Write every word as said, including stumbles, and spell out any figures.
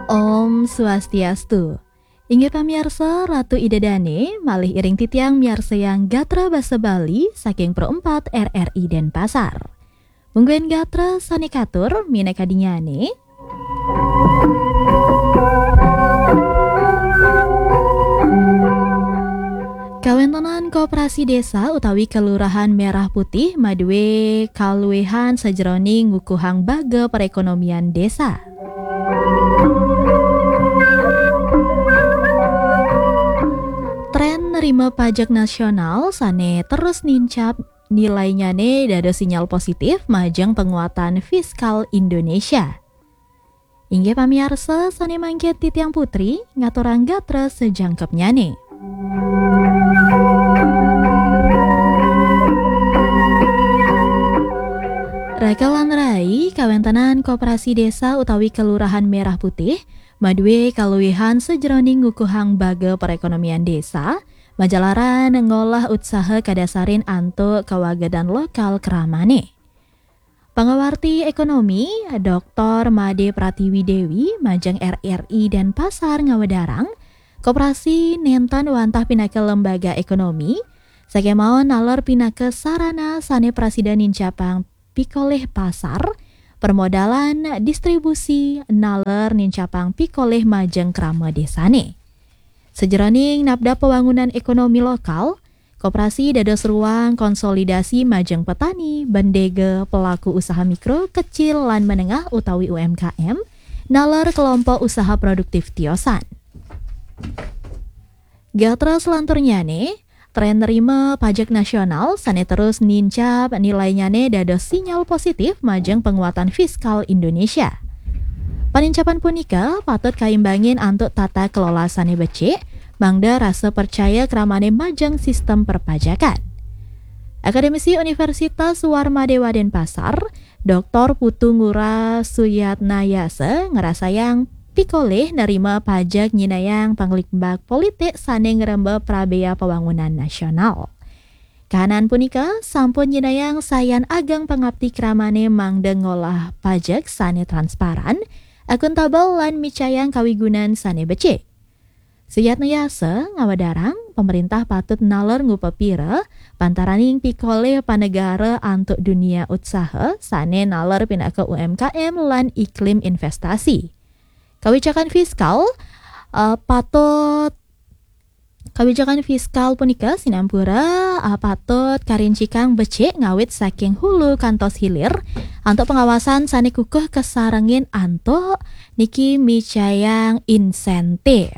Om Swastiastu. Inggih pamiarsa, Ratu Ida Dane malih iring titiang miarsayang gatra basa Bali saking Pro empat R R I Denpasar. Mungguing gatra sane katur minakadinnyane. Kawentenan koperasi desa utawi kelurahan Merah Putih madue kaluwihan sajeroning ngukuhang baga perekonomian desa. Tren nerima pajak nasional sane terus nincap nilainyane dados sinyal positif majeng penguatan fiskal Indonesia. Inggih pamiarsa sane mangkin titiang Putri ngaturang gatra sejangkepnyane. Raka lan rai, kawentenan koperasi desa utawi kelurahan Merah Putih madue kaluwihan sajeroning ngukuhang baga perekonomian desa, majalaran ngolah utsaha kadasarin antuk kawagedan lokal kramane. Pangawarti ekonomi, Doktor Made Pratiwi Dewi, majeng R R I Denpasar ngawedarang, koperasi nenten wantah pinaka lembaga ekonomi, sakemaon naler pinaka sarana sane prasida nincapang pikolih pasar, permodalan, distribusi, naler nincapang pikolih majeng krama desane. Sajeroning napdap pewangunan ekonomi lokal, koperasi dados ruang konsolidasi majeng petani, bendega, pelaku usaha mikro, kecil, lan menengah utawi U M K M, naler kelompok usaha produktif tiosan. Gatra selanturnyane, tren nerima pajak nasional sane terus nincap nilainyane dados sinyal positif majeng penguatan fiskal Indonesia. Panincapan punika patut kaimbangin antuk tata kelola sane becik, mangda rasa percaya kramane majeng sistem perpajakan. Akademisi Universitas Warmadewa Denpasar, Doktor Putu Ngurah Suyatnayasa ngrasayang pikolih nerima pajak nyinayang panglimbak politik sane ngremba prabea pawangunan nasional. Kahanan punika sampun nyinayang sayan ageng pangapti kramane mangda ngolah pajak sane transparan, akuntabel, lan micayang kawigunan sane becik. Suyatnayasa ngawedarang, pemerintah patut naler ngupapira pantaraning pikolih panegara antuk dunia utsaha sane naler pinaka U M K M lan iklim investasi. Kawicakan fiskal, eh, patut Kawicakan fiskal punika sinampura, ah, patut karincikang becik ngawit saking hulu kantos hilir, antuk pengawasan sane kukuh kasarengin antuk niki micayang insentif.